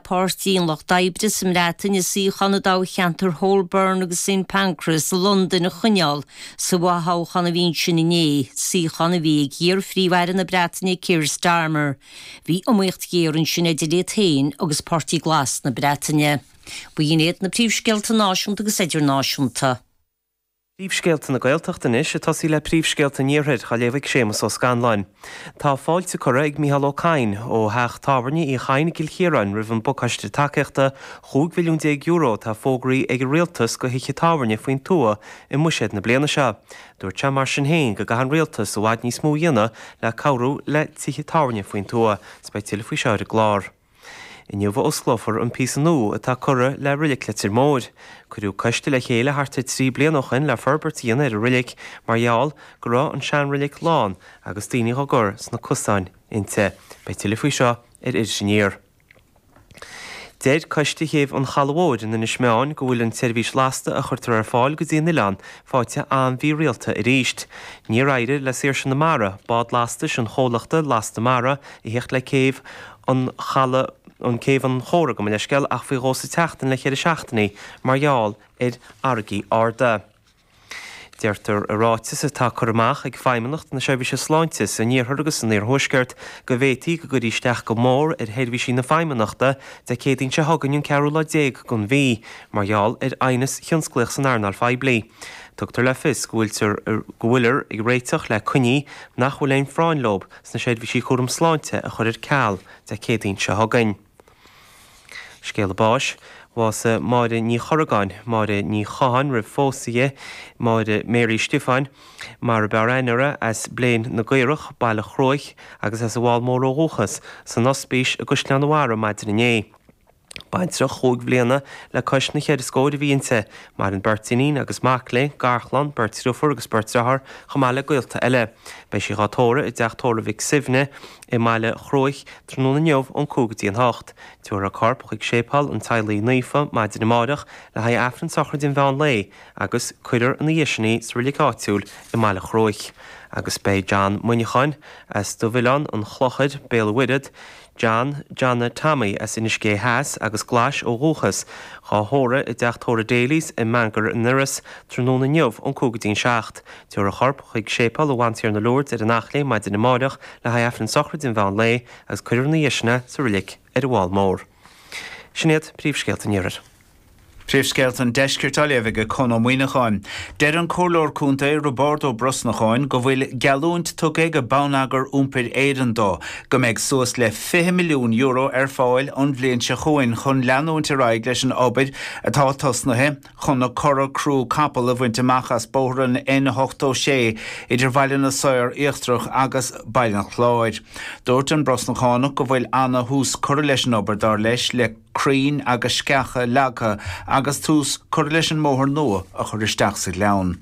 Páirtí an Lucht Oibre sa mBreatain a suíochán i dtoghcheantar Holborn agus St Pancras i Londain a choinneáil sa bhfothoghchán a bhí ansin inné, suíochán a bhí ag iar-Phríomh-Aire na Breataine Keir Starmer. Bhí iomaíocht ghéar ansin idir iad féin agus Páirtí Glas na Breataine. B'in iad na príomhscéalta náisiúnta agus idirnáisiúnta. Príomhscéalta na Gaeltachta anois, ag tosaí le príomhscéalta an Iarthair, á léamh ag Séamus Ó Scanláin. Tá fáilte curtha ag Mícheál Ó Cadhain ó theach tábhairne Uí Chadhain i gCill Chiaráin roimh an bpacáiste tacaíochta €15 mhilliún atá fógraithe ag an Rialtas do thithe tábhairne faoin tuath i mBuiséad na bliana seo. Dúirt sé mar sin féin go gcaithfidh an Rialtas i bhfad níos mó a dhéanamh le cabhrú le tithe tábhairne faoin tuath. 'S beidh tuilleadh faoi seo ar an gclár. Inniu a osclófar an píosa nua atá curtha le Reilig Leitir Móir. Cuireadh coiste le chéile thart ar 3 bliana ó shin le forbairt a dhéanamh ar an reilig mar gheall go raibh an seanreilig lán agus daoine dhá gcur sna cosáin inti. Beidh tuilleadh faoi seo ar Iris Aniar. Deir Coiste Chéibh an Chalaidh Mhóir in Inis Meáin go bhfuil an tseirbhís lasta a chuirtear ar fáil go dtí an oileán faighte an-mhírialta arís. Níor éirigh le Saoirse na Mara, bád lastais an chomhlachta Lasta Mara, a theacht le céibh an Chalaidh, an Céibh an Chóra, gabh mo leithscéal, ach faoi dhó sa tseachtain le cheithre seachtainí mar gheall ar fharraigí arda. Deirtear i ráiteas atá curtha amach ag Feidhmeannacht na Seirbhíse Sláinte san Iarthar agus san Iarthuaisceart go bhféadfaí go gcuirfí isteach go mór ar sheirbhísí na Feidhmeannachta Dé Céadaoin seo chugainn an ceathrú lá déag den mhí mar gheall ar aighneas thionsclaíoch san earnáil phoiblí. Tugtar le fios go bhfuiltear go bhfuilear ag réiteach le coinní nach bhfuil aon phráinn leo sna seirbhísí cúram sláinte a chur ar ceal Dé Céadaoin seo chugainn. Scéala báis, Bhásaigh Máire Ní Chorragáin, Máire Ní Chatháin roimh phósadh di, Máire Mary Stiofáin, mar ab fhearr aithne uirthi, as Blein na gCaorach, Baile Chruaich, agus as an bhFál Mór ó dhúchas, san Ospís i gCaisleán an Bharraigh maidin inné. Baintreach chúig bhliana le cois na cheithre scóir a bhí inti. Maireann beirt iníon agus mac léi, garchlann, beirt driofúr agus beirt driotháir, chomh maith le gaolta eile. Beidh sí dhá tórramh i dteach tórraimh Mhic Suibhne i mBaile Chruaich tráthnóna inniu ón 5 go dtí an 8. Tabharfar a corp chuig Séipéal an Teaghlaigh Naofa maidin amáireach le haghaidh Aifreann sochraide an mheán lae agus cuirfear ina dhiaidh sin í sa reilig áitiúil i mBaile Chruaich. Agus beidh John Muineacháin as Dubh-Oileán an Chlochair, Béal an Mhuirthead, John Johnna Tommy as Inis Gé Theas agus Glais ó dhúchas, dhá thórramh i dteach tórraimh Daly's i Mangor an Iorrais tráthnóna inniu ón 5 go dtí an 7. Tabharfar a chorp chuig Séipéal an Bhantiarna Lourdes ar an Eachléim maidin amáireach le haghaidh Aifreann sochraide an mheán lae agus cuirfear ina dhiaidh sin é sa reilig ar an bhFál Mór. Sin iad príomhscéalta an Iarthair. Príomhscéalta an Deiscirt á léamh ag Con Ó Muíneacháin. Deir an Comhairleoir Contae Roibeárd Ó Brosnacháin go bhfuil geallúint tugtha ag Bonneagar Iompair Éireann dó go mbeidh suas le €20 milliún ar fáil an bhliain seo chugainn chun leanúint ar aghaidh leis an obair atá tosnaithe chun na cora crú capall a bhaint amach as bóthar an N86 idir Bhaile na Saor Íochtarach agus Baile an Chláir. Dúirt an Brosnachánach go bhfuil ana thús curtha leis an obair dar leis le crainn agus sceacha leagtha agus tús curtha leis an mbóthar nua a chur isteach sa ghleann.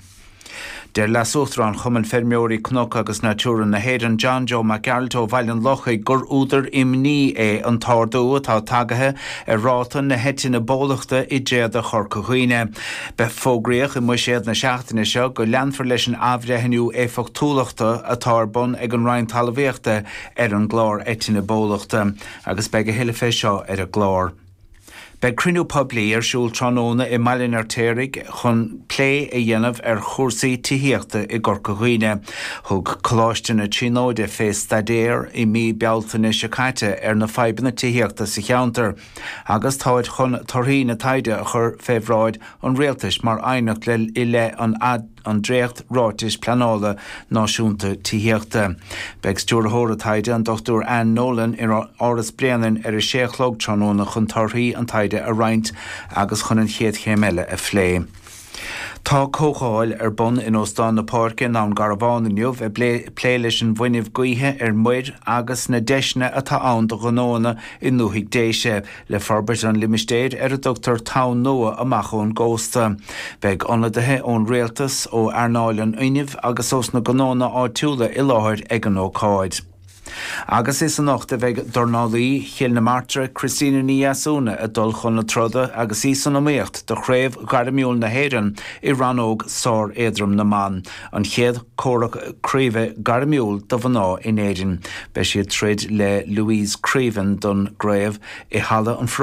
Deir Leas-Uachtarán Chumann Feirmeoirí Cnoc agus Natura na hÉireann, John Joe Mac Gearailt ó Bhaile an Lochaigh gur údar imní é an t-ardú atá tagaithe ar ráta na heitinne bólachta i dtréada Chorca Dhuibhne. Fógraíodh i mBuiséad na seachtaine seo go leanfar leis an athbhreithniú éifeachtúlachta atá ar bun ag an Roinn Talmhaíochta ar an gclár eitinne bólachta. Agus beidh a thuilleadh fé seo ar an gclár. Beidh cruinniú poiblí ar siúl tráthnóna i mBaile an Fheirtéaraigh chun plé a dhéanamh ar chúrsaí tithíochta i gCorca Dhuibhne. Thug Coláiste na Tríonóide fé staidéar i mí Bealtaine seo caite ar na fadhbanna tithíochta sa cheantar agus táid chun torthaí na taighde a chur fé bhráid an Rialtais mar aighneacht le i leith an an dréacht-Ráitis Pleanála Náisiúnta Tithíochta. Beidh Stiúrthóir an taighde, an Dr Anne Nolan, in Áras Bréanainn ar a sé a chlog tráthnóna chun torthaí an taighde a roinnt agus chun an chéad chéim eile a phlé. Tá comhdháil ar bun in Óstán na Páirce i nDún Garbhán inniu ag plé leis an bhfuinneamh gaoithe ar muir agus na deiseanna atá ann do ghnóanna i ndúthaigh Déise. Le forbairt an limistéir ar a dtugtar Tonn Nua amach ón gcósta, beidh ionadaithe ón rialtas, ó earnáil an fhuinnimh agus ós na gnónna áitiúla i láthair ag an ócáid. Agus is anocht a bheidh dornálaí Chill na Martra, Christina Ní Dheasúna ag dul chun na troda agus í san iomaíocht do Chraobh Ghairmiúil na hÉireann i rannóg sár-éadrom na mban, an chéad chomhrac craoibhe gairmiúil do mhná in Éirinn. Beidh sí ag troid le Louise Creaven don gcraobh i Halla an Pharóiste.